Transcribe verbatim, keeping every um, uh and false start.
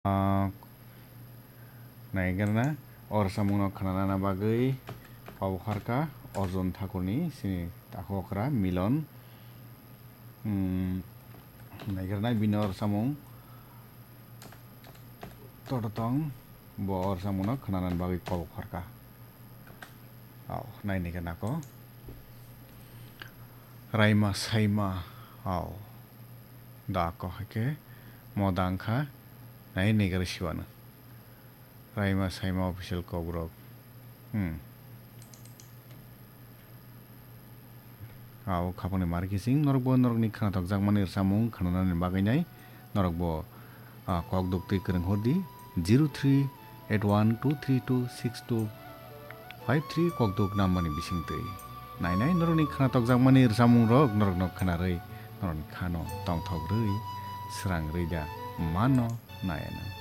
Ah, naigerna, o rwchapmungno khwnanana bagwi kok bokharkha Arjun Thakurni sini takhuk okra Milon. Hmm, naigerna bini o rwchapmung Tototong, bo o rwchapmungno khwnanani bagwi kok bokharkha. Au, naini khe nako. Raima saima, au. Da ko hai khe mo da wngkha, nai naigra siwano. Raima saima official kokborok. Hmm. Au khapangni mar kising norokbo norokni khwnathokjakmani rwchapmung khwnanani bagwi nai norokbo, ah, kok duktwi kwrwng hor di zero three eight one two three two six two five three kokduk nambani bisingtwi. Nainai norokni khwnathokjakmani rwchapmungrok norokno khwnarwi norokni khano tongthok rwi srang rwi da mano nai ano.